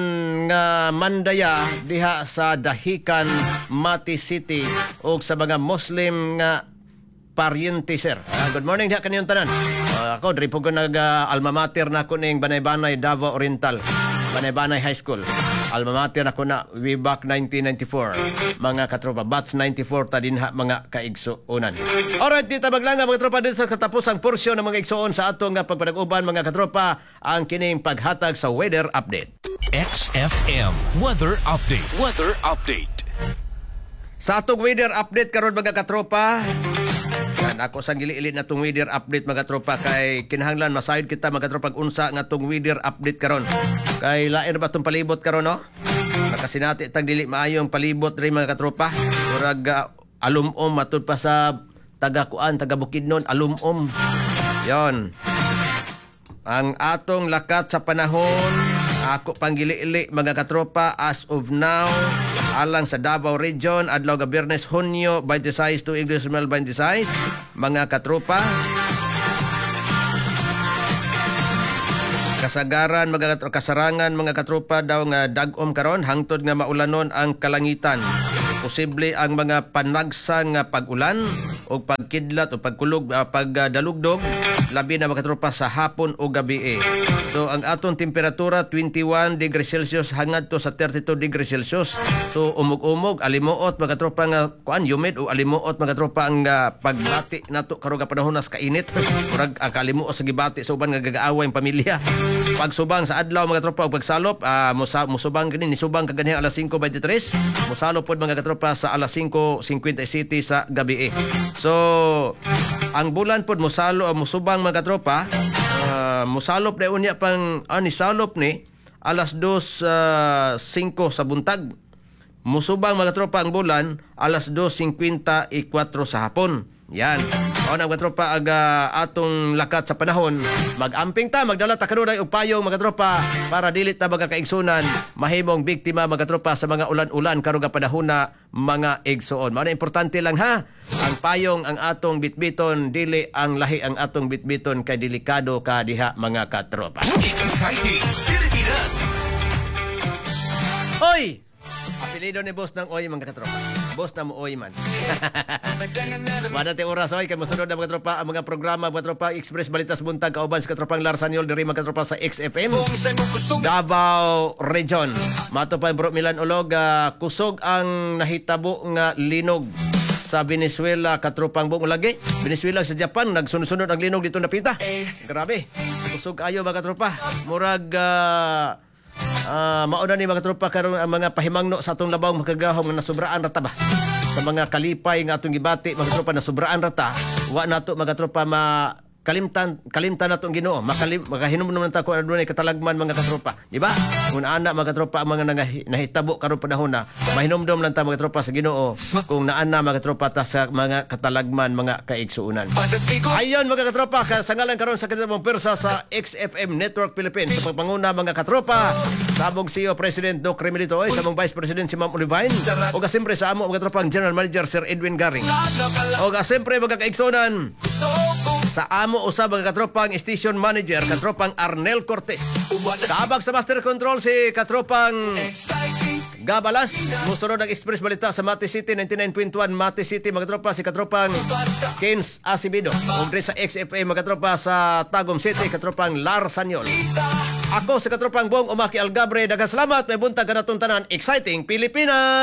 nga Mandaya diha sa Dahican, Mati City ug sa mga Muslim nga paryente, sir. Good morning diha kaniyong tanan. Ako diri po ko nag alma mater na ako ning Banay-Banay, Davao Oriental. Banay-Banay High School. Alma mater ako na way back 1994. Mga katropa, batch 94 ta dinha mga kaigsuonan. Alright, dito maglanga mga tropa dito sa katapusang porsyon ng mga igsuon sa atong pagpanag-uban mga katropa ang kining paghatag sa weather update. XFM Weather Update. Weather Update. Sa atong weather update karon mga katropa, yan, ako sang gili-ili na tong weather update mga tropa kay kinahanglan masayod kita mga tropa unsa nga tong weather update karon. Kay lain ba tong palibot karon, no? Nakasinati tag dili maayo ang palibot diri mga katropa. Murag alum-om matud pa sa taga kuan, taga Bukidnon, alum-om. Yon. Ang atong lakat sa panahon, ako pang gili-ili mga katropa as of now alang sa Davao Region, adlaw ga Biyernes, Hunyo 26 to 2026, mga katropa. Kasagaran mga kasarangan mga katropa daw nga dag-om karon hangtod nga maulanon ang kalangitan. Posible ang mga panagsa nga pag-ulan o pagkidlat o pagkulog, pagdalugdog labi na mga katropa sa hapon o gabi. So ang atong temperatura 21 degrees Celsius hangad to sa 32 degrees Celsius. So umog-umog, alimuot mga katropa nga kuan humid o alimuot mga katropa ang pagbati nato karon nga panahon nas kainit. Murag kalimuot sa gibati sa uban nga gagaaway ang pamilya. Pagsubang sa adlaw mga tropa og pagsalop, musubang kini nisubang kaganhing alas 5:23, musalop pod mga katropa sa alas 5:57 sa gabi. So ang bulan pod musalo musubang mga katropa, musalop na unya pang nisalop ni alas 2:05 sa buntag. Musubang mga tropa ang bulan alas 2:54 sa hapon. Yan. O na mga tropa aga atong lakat sa panahon. Magamping ta, magdala ta kanunay og payong mga tropa para dili ta magakaigsunan mahimong biktima mga tropa sa mga ulan-ulan karon nga panahona mga igsuon. Mao na importante lang ha, ang payong ang atong bitbiton, dili ang lahi ang atong bitbiton kay delikado ka diha mga katropa. Exciting Pilipinas. Hoy! Apelido ni boss ng Oy mga katropa. Boss na mo Oy man. Wala tayo oras oy kay mosunod na mga tropa ang mga programa mga tropa Express Balitas Buntag kauban sa katropang Lars Saniol diri mga tropa sa XFM Davao Region. Mato pa bro Milan Ulog, kusog ang nahitabo nga linog sa Venezuela katropang buong lagi. Venezuela sa Japan nagsunod-sunod ang linog dito napita. Grabe. Kusog ayo mga tropa. Murag mauna ni mga tropa karon ang mga pahimangno sa atong labawng makagahom nga nasubraan rata ba sa mga kalipay nga atong gibati mga tropa nasubraan rata wa nato mga tropa ma kalimtan nato ang Ginoo, makahinumdum ta kung adunay katalagman mga katropa, di ba? Kung ana mga katropa ang mga nahitabo karon panahon na mahinumdum lang ta mga tropa sa Ginoo kung naana mga katropa ta sa mga katalagman mga kaigsuonan. Ayon mga katropa, kasangalan karon sa katong persa sa XFM Network Philippines sa pagpanguna mga katropa sa among CEO President Doc Remedito Oy, sa among Vice President si Ma'am Olivine, o siyempre sa amo mga tropa ang General Manager Sir Edwin Garing, o siyempre mga kaigsuonan sa amo usab mga katropang station manager katropang Arnel Cortez. Kaabag sa master control si katropang Gabalas. Musunod ang Express Balita sa Mati City 99.1 Mati City mga tropa si katropang Kens Acevedo. Ug diri sa XFM mga tropa sa Tagum City katropang Lars Saniol. Ako si katropang Bong Umaki Algabre, daghang salamat, may buntag kanatong tanan. Exciting Pilipinas.